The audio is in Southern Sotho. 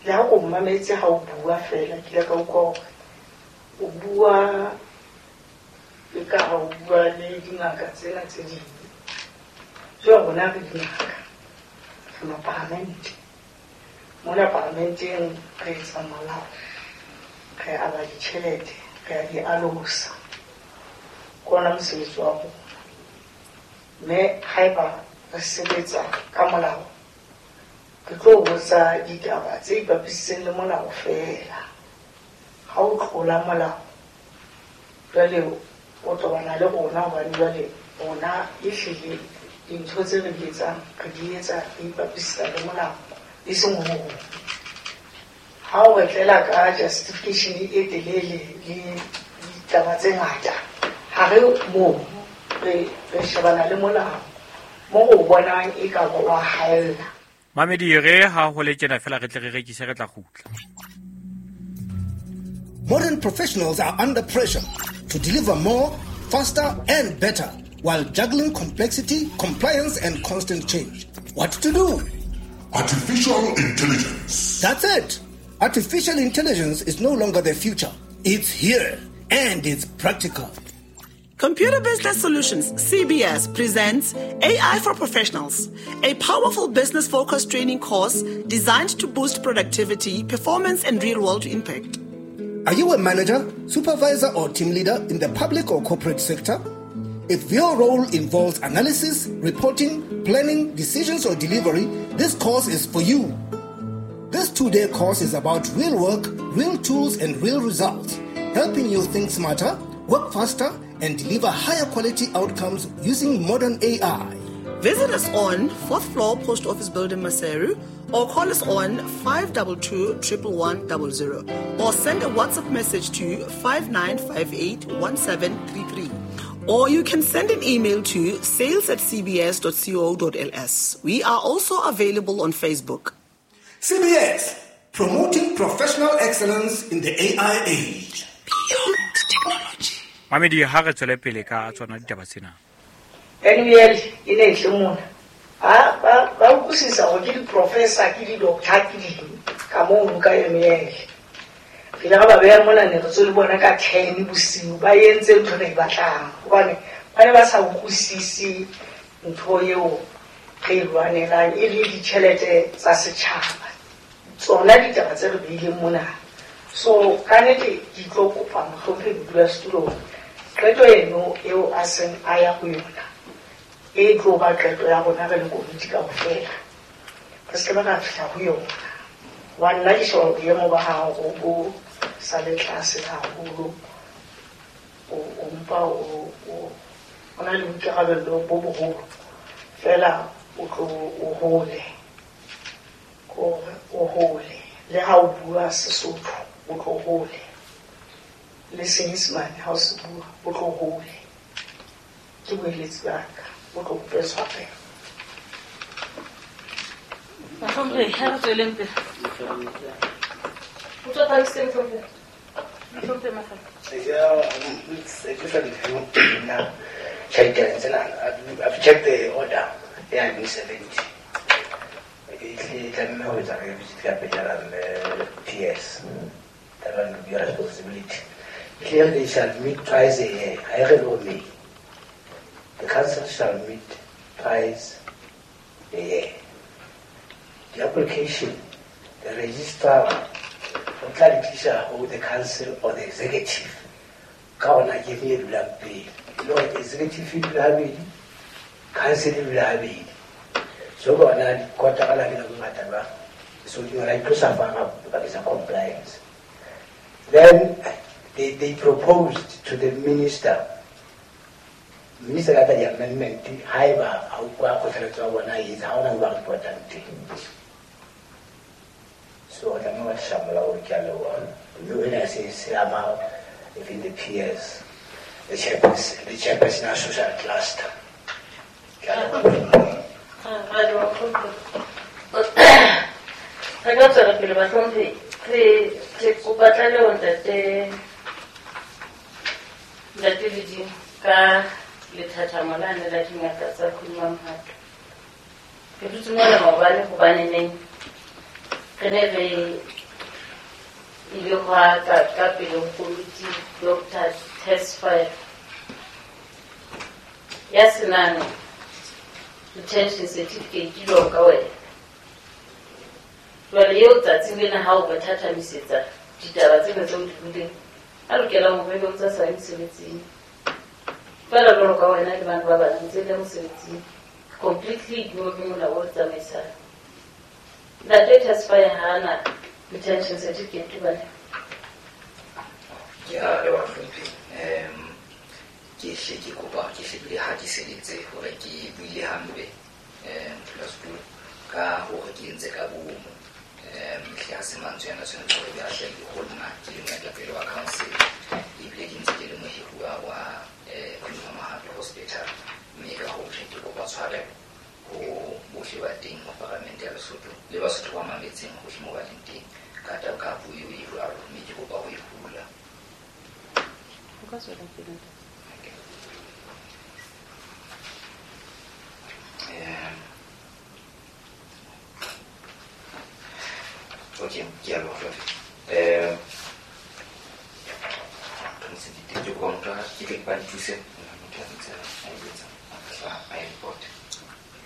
Le ha o mmametse ha o bua fela ke ile ka utlwa hore o bua e ka ha o bua le dingaka tsena tse ding. Jwale rona re dingaka, re mapalamente. Mona palamenteng re etsa molao, re aba ditjhelete, re a di alosa. Ke ona mosebetsi wa rona. Mme haeba re sebetsa ka molao, re tlo botsa ditaba tse ipapisitseng le molao feela. Ha o tlola molao, jwale o tobana le rona hobane jwale rona ehlile dintho tse re di etsang, re di etsa re ipapisitsa le molao, e seng ho hong. Ha o re tlela ka justification e telele le ditaba tse ngata, ha re moo re shebana le molao mo o bonang e ka ba wa haella. Mamedi re ha ho le tjena fela re tle re rekise re tla kgutla. Modern professionals are under pressure to deliver more, faster, and better while juggling complexity, compliance, and constant change. What to do? Artificial intelligence. That's it. Artificial intelligence is no longer the future. It's here, and it's practical. Computer Business Solutions, CBS, presents AI for Professionals, a powerful business-focused training course designed to boost productivity, performance, and real-world impact. Are you a manager, supervisor, or team leader in the public or corporate sector? If your role involves analysis, reporting, planning, decisions, or delivery, this course is for you. This 2-day course is about real work, real tools, and real results, helping you think smarter, work faster, and deliver higher quality outcomes using modern AI. Visit us on 4th floor Post Office Building, Maseru, or call us on 522 11100, or send a WhatsApp message to 5958 1733. Or you can send an email to sales@cbs.co.ls. We are also available on Facebook. CBS, promoting professional excellence in the AI age. Beyond technology. Mamedi ha re tswele pele ka tsona ditaba tsena. NUL e ne e tle mona. Ba utlwisisa hore ke di-professor, ke di-doctor, ke ding ka mono ka NUL. Re ile ra ba beha mona ne re tswe le bona ka 10 bosiu, ba entse ntho re e batlang. Hobane ba ne ba sa utlwisise ntho eo re e lwanelang, e le ditjhelete tsa setjhaba. Tsona ditaba tse re beileng mona. So ka nnete ke tlo kopa mohlomphehi modulasetulo hore qeto eno eo a seng a ya ho yona e tlo ba qeto ya rona re le komiti kaofela. Re se ke ba ra fihla ho yona. Hobane nna ke sheba boemo ba hao bo sa le tlase haholo. O mpa o na le boikarabello bo boholo. Feela o tlo o hole. Hore o hole. Le ha o bua Sesotho, o tlo hole. Le Senyesemane ha o se bua, o tlo hole. Ke boeletsi ba ka, o tlo kope tshwarelo. Mohlomphehi, ha re tsweleng pele. O tswa Pakistan, Mohlomphehi? Mohlomphehi Mafala. It's a different view now. I've checked the order. Yeah, I'm 70. PS. That one will be your responsibility. Clearly, they shall meet twice a year. I read me. The council shall meet twice a year. The application, the registrar, or the council or the executive. Ka give me a bill. No, executive will have it, council will have it. So go on, so you are to compliance. Then they proposed to the minister. Minister got the amendment. However, so I don't know what even the peers, the chairperson of social cluster. Re ka tswela pele bahlomphehi, re kopa tlaleho ntate Ledimo ka lethathamo lane la dingaka tsa Khumamhato. Re dutse mona maobane hobaneneng Re ne re ile hwa ka pele ho Dr. Tesfaye ya senang retention certificate jwalo ka wena. Jwale eo tsatsing lena ha o ba thathamisetsa ditaba tsena tseo di buileng, a lokelang hore ebe o ntsa sa ye mosebetsing. Feela jwalo ka wena le bana ba bang ntse le mosebetsing. Completely ignore ke molao o tsamaisang. Ntate Tesfaye ha ana retention certificate bane. Ke a leboha hlomphe. Ke hle ke kopa ke hle ke hatiseletse hore ke buile hampe modulasetulo ka hore ke entse ka bomo. Hle ha se mantswe ana tshwanetse hore be a hlahile ho nna ke le moetapele wa council, ebile ke ntse ke le mohiruwa wa Queen Mama Hospital, mme ka hoo ke kopa tshwarelo ho bohle ba teng ho Paramente ya Lesotho le Basotho ba mametseng hohle moo ba leng teng ka taba ka puo eo e jwalo, mme ke kopa ho e hula. O ka tswela pele ntate. Okay, ke a leboha hlomphe. Ke kopa motho ke tle ke ba nthuse motho a ntse a e etsa a e report.